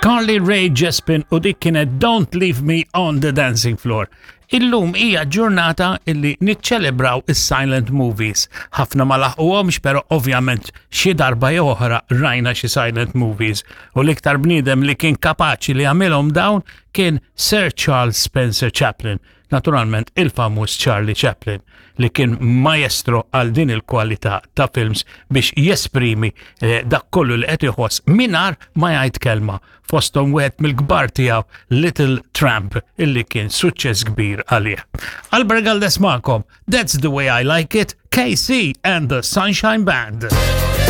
Carly Rae Jepsen u dik kienet Don't Leave Me on the Dancing Floor. Illum hija ġurnata illi niċċelebraw is-silent movies. Ħafna ma laħquhomx, però ovvjament xi darba jew oħra rajna xi silent movies. U l-iktar bniedem li kien kapaċi li jagħmilhom dawn kien Sir Charles Spencer Chaplin, naturalment il-famuż Charlie Chaplin li kien maestro għal din il-kwalità ta' films biex jesprimi eh, dak kollu li qed iħoss mingħajr ma jgħid kelma fosthom wieħed mill-kbar tiegħu Little Tramp illi kien suċċess kbir għalih. Albert Galdes magħkom, That's the way I like it, KC and the Sunshine Band.